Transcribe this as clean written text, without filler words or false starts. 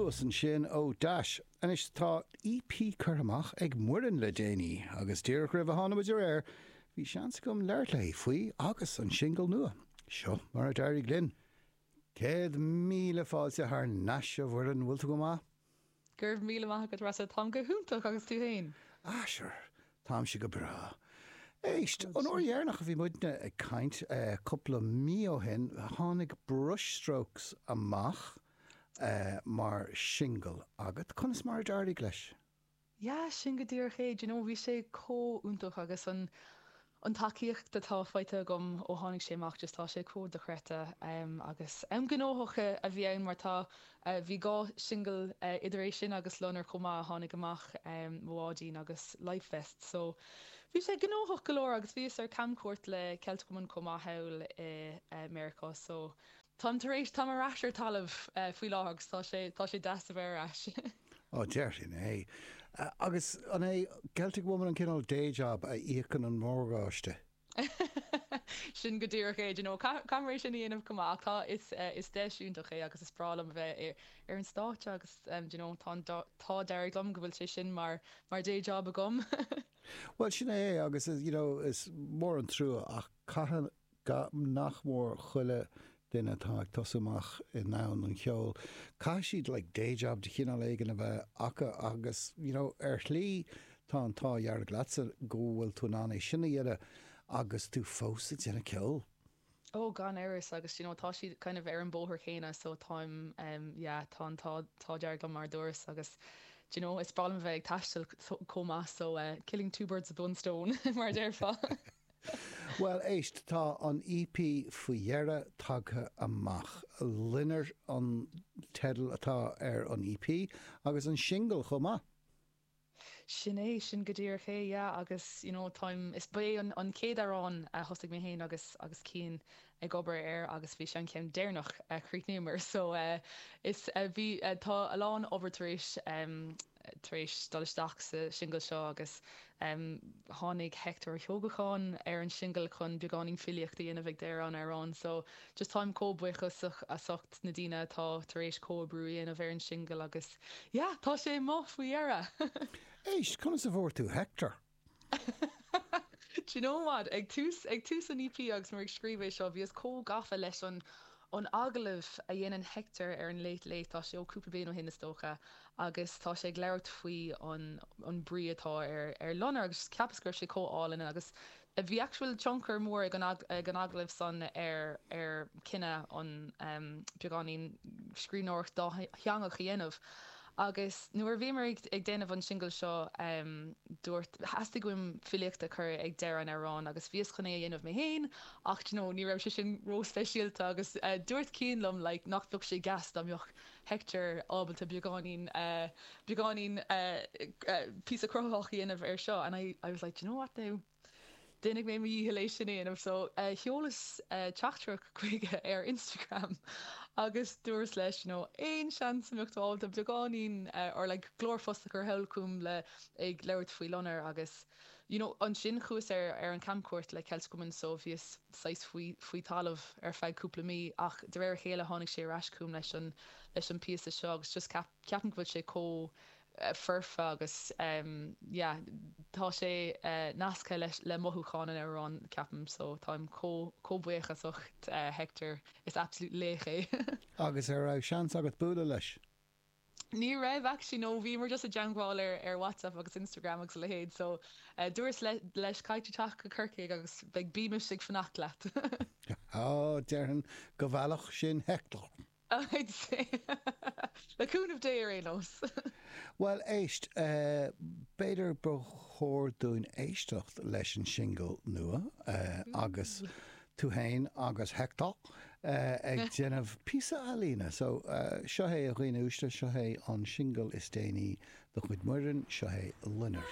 Luas ansin ó Dash. Anois tá EP curtha amach ag Muireann le déanaí agus díreach roimh a tháinig muid ar aer bhí seans agam labhairt léi faoi agus an singil nua. Seo mar a d'éirigh linn. 100,000 fáilte thar n-ais a Mhuireann, bhfuil tú go maith? Go raibh míle maith agat Rossa, táim go hiontach agus tú fhéin? Ah sure, táimse go breá. Éist, an uair dheireanach a bhí muidne ag caint, cúpla mí ó shin, tháinig Brushstrokes amach mar shingil agat. Conas mar a d'éirigh leis? Yeah, sin go díreach é. Do you know, bhí sé chomh iontach agus an an tacaíocht atá faighte agam ó tháinig sé amach, just tá sé chomh dochreidte agus am gnóthach a bhí ann mar tá, bhí 2 shingil idir é sin agus Loinnir chomh maith a tháinig amach, Mo Bháidín agus Life Vest so bhí sé gnóthach go leor agus bhíos ar camchuairt le Celtic Woman chomh maith thall i Meiriceá so Táim tar éis, táim ar ais ar talamh faoi láthair agus tá sé, tá sé deas a bheith ar ais. Ó, déarfainn é. Agus an é Celtic Woman an cineál day job a íocann an morgáiste? Sin go díreach é, do you know, caithfidh mé é sin a dhéanamh chomh maith ach tá, is, is deis iontach é agus is breá liom a bheith ar an stáitse agus, do you know, tá an t-ádh dearg liom go bhfuil sé sin mar, mar day job agam. Bhuel, sin é agus, you know, is mór an trua ach caithfidh, nach mór chuile duine atá ag tosú amach i ndomhan an cheoil, caithfidh siad like day job de chineál éigin a bheith acu agus you know ar shlí tá an t-ádh dhearg leatsa go bhfuil tú in ann é sin a dhéanamh agus tú fós ag déanamh ceoil. Oh gan amhras agus you know tá siad kind of ar an bóthar céanna so táim em yeah tá an t-ádh dearg liom mar a dúras agus do you know is breá liom a bheith ag taisteal chomh maith so eh killing two birds with one stone mar a déarfá. Bhuel, éist, tá an EP faoi dheireadh tagtha amach. Loinnir an teideal atá ar an EP agus an singil chomh maith. Sin é, sin go díreach é, yeah, agus you know táim, is, ba é an an chéad amhrán a thosaigh mé féin agus agus Cian ag obair air agus bhí sé an ceann deireanach a chríochnaíomar so eh is eh bhí eh tá a lán obair tar éis em tar éis dul isteach sa singil seo agus tháinig Hector Ó hEoghacháin ar an singil chun beagáinín filíocht a dhéanamh ag deireadh an amhráin so just táim chomh buíoch as ucht na daoine atá tar éis comhoibriú a dhéanamh ar an singil agus yeah tá sé amuigh faoi dheireadh! Éist, conas a fuair tú Hector? Do you know what? Ag tús, ag tús an EP agus muid ag scríobh é seo, bhíos chomh gafa leis an, an agallamh a dhéanann Hector ar an Late Late, tá sé ó cúpla bliain ó shin is dócha, agus tá sé ag labhairt faoi an, an brí atá ar, ar Loinnir agus cheapas go raibh sé chomh álainn agus bhí actual tionchar mór ag an, ag an agallamh san ar, ar cinneadh an beagáinín scríbhneoireacht dátheangach a dhéanamh. Agus nuair a bhíomar ag déanamh an singil seo, dúirt, theastaigh uaim filíocht a chur ag deireadh an amhráin agus bhíos chun é a dhéanamh mé féin ach d'you know ní raibh sé sin ró-speisialta agus dúirt Cian liom like nach mbeadh sé deas dá mbeadh Hector ábalta beagáinín, beagáinín píosa cruthaitheach a dhéanamh ar seo and I, I was like d'you know what now? Déanfaidh mé mo dhícheall é sin a dhéanamh so sheolas teachtaireacht chuige ar Instagram agus dúras leis you know aon seans a mbeadh tú ábalta beagáinín or like glórphost a chur thall chugam le ag labhairt faoi Loinnir agus you know ansin chuas ar ar an camchuairt le Celtic Woman so bhíos saghas faoi faoi talamh ar feadh cúpla mí ach de réir a chéile tháinig sé ar ais chugam leis an leis an píosa seo agus just ceap ceapaim go bhfuil sé chomh foirfe agus yeah tá sé nasctha leis le mothúcháin an amhráin ceapaim so táim chomh chomh buíoch as ucht Hector is absolute laoch é. Agus ar raibh seans agat bualadh leis? Ní raibh actually no bhíomar just i dteangmháil ar ar WhatsApp agus Instagram agus a leithéid so dúras leis caithfidh tú teacht go Corcaigh agus beidh Beamish ag fanacht leat. Á déarfainn go bhfeilfeadh sin Hector. I'd say. Le cúnamh Dé ar aon nós. Bhuel, éist, b'fhéidir ba chóir dúinn éisteacht leis an singil nua agus tú fhéin agus Hector ag déanamh píosa ealaíne. So, seo é a dhaoine uaisle, seo é an singil is déanaí de chuid Muireann, seo é Loinnir.